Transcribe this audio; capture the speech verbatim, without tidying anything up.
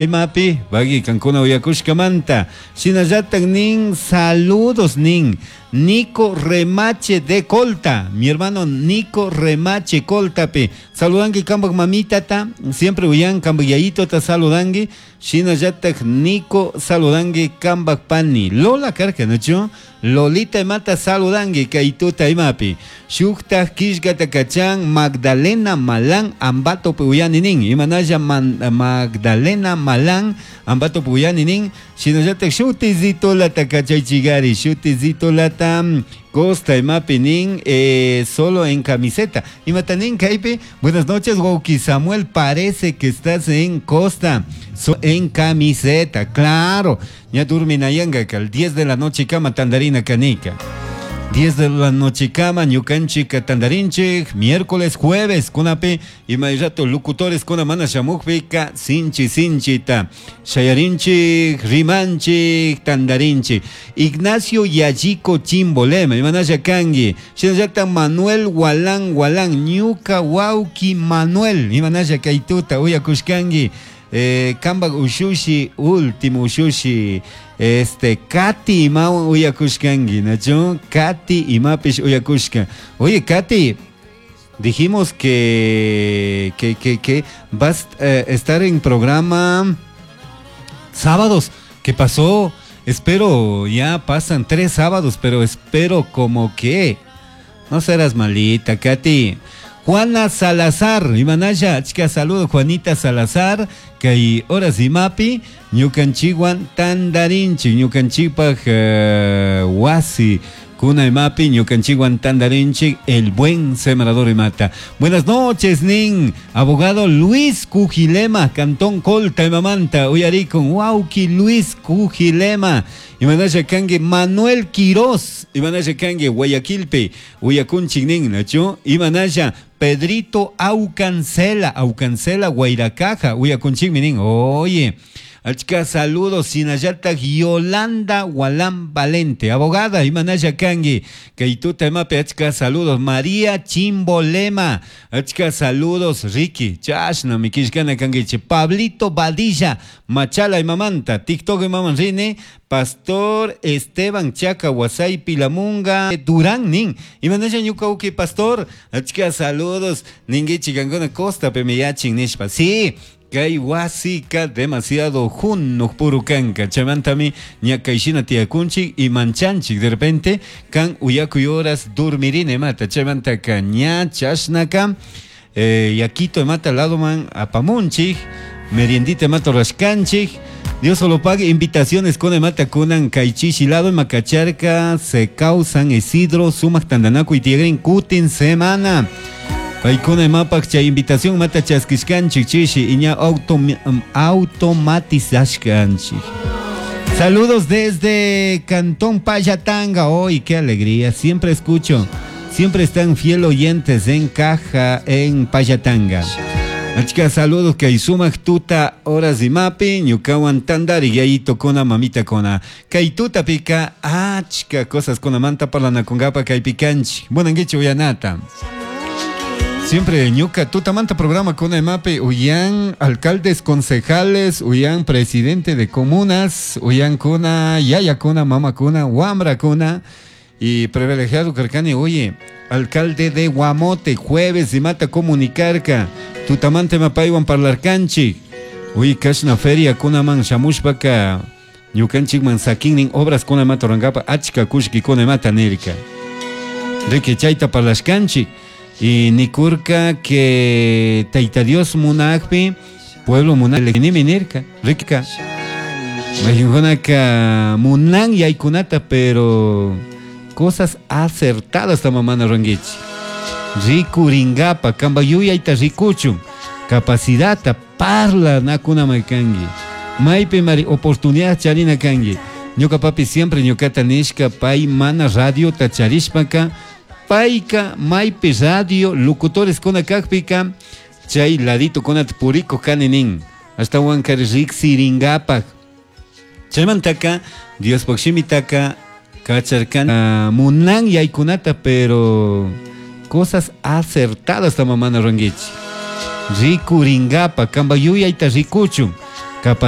Imapi, pagui kankuna uyakushkamanta. Shinallatak nin saludos nin Nico Remache de Colta, mi hermano Nico Remache Coltapi. Saludangi kambak mamitata, siempre uyan kambak yayitota saludangi. Shinallatak Nico saludangi kambak pani. Lola karka, ¿no? Lolita imata saludangi kaytuta imapi. Shuktak kishkata kachan Magdalena Malán Ambato uyani nin. Imanalla Man, Magdalena Malán Ambato uyani nin. Shinallatak shutizito lata kachaychigari, shutizito lata Costa imapi nin, eh, solo en camiseta. Imata nin kaypi, buenas noches, wawki Samuel, parece que estás en Costa, so, en camiseta, claro. Ya durminayanga que al diez de la noche kama tandarina kanika. diez de la noche kama, ñukanchik tandarinchik, miércoles, jueves, kunapi, y rato locutores kuna mana shamukpika, sinchi sinchita, shayarinchik, rimanchik, tandarinchik. Ignacio Yayiko Chimbolema, imanaya kangi, shinallata Manuel Walán Walán, ñuka wauki Manuel, imanaya kaituta, uyakushkangi. Eh, kambak ushushi, último ushushi, este, Katy imawan uyakushkangi, ¿nacho? Katy imapish uyakushka. Oye, Katy, dijimos que, que, que, que vas a eh, estar en programa sábados. ¿Qué pasó? Espero, ya pasan tres sábados, pero espero como que no serás malita, Katy. Juana Salazar, imanaya, chica, saludo Juanita Salazar, kay horas imapi, ñukanchikwan tandarinchik, ñukanchikpaj uh, wasi, kuna imapi, ñukanchikwan tandarinchik, el buen sembrador imata. Buenas noches, nin, abogado Luis Cujilema, Cantón Colta, imamanta, uyarikun, wauki Luis Cujilema, imanaya kangi Manuel Quiroz, imanaya kangi Guayaquilpi, uyakunchik nin, nachu, imanaya Pedrito Aucancela, Aucancela, Guairacaja, uyakunchikmi nin, oye. Achka saludos, sinallata Yolanda Walán Valente, abogada, imanaya kangi, kaituta imapi, achka saludos, María Chimbolema, achka saludos, Ricky, chashna, mikishkana kangiche, Pablito Badilla, Machala imamanta, TikTok imaman rini, Pastor Esteban Chaca, Huasay Pilamunga, Durán nin, imanaya ñuka pastor, achka saludos, ninguichi kankuna costa pemiyachin nishpa, sí. Kay wasika demasiado junuk puru kanka chaymantami ñakayshina tiyakunchik y manchanchik de repente kan uyakuy horas dormirine mata chaymantaka ña chashnaka eh, yakito mata ladoman apamunchik meriendita mata rashkanchik. Dios solo pague invitaciones con mata kunan kaychishi lado macacharca se causan Isidro sumak tandanaku y tigrin kutin semana. Paykuna imapak chay invitación mata chaskishkanchik chishi iña autom, automatizashkanchik. Saludos desde Cantón Payatanga. Hoy, qué alegría, siempre escucho, siempre están fiel oyentes en Caja, en Payatanga. Achka saludos que sumak tuta horas imapi, ñukawan tandari yayito kona mamita kona. Kay tuta pika, achka cosas kona manta parlana kongapa kay pikanchik. Buenanguichi uyanata. Siempre ñuka tutamanta programa con emape uyan alcaldes, concejales, uyan presidente de comunas, uyan kuna, yaya kuna, mama kuna, wambra kuna y privilegiado carcani, oye, alcalde de Guamote, jueves y mata comunicarca, tutamante mapaiwan parlarcanchi, uy, kashna feria kuna man shamushpaka, ñukanchik man sakinnin obras kuna mata rangapa, achka kushki kuna mata nirka. Rique chayta parlashkanchik. Y nikurka que Taita Dios munakpi, pueblo munak, nimi nirka, rika. Mayunkunaka munan yaykunata, pero cosas acertadas tamamana rangichi. Rikuringapa, kamba yuyayta rikuchun, capacidad parla nakuna maykangi. Maypi mari oportunidad charina kangi. Ñuka papi siempre ñukata nishka, pay mana radio tacharishpaka, Paika, maypi radio, locutores kuna kakpika, chay ladito kuna puriko kaninin, hasta wankari riksiringapak. Chaymantaka, Dios shimitaka, kacharkan, uh, munan yaykunata, pero cosas acertadas tamamana rangichi. Rikuringapa, kamba yuyayta rikuchun, capaz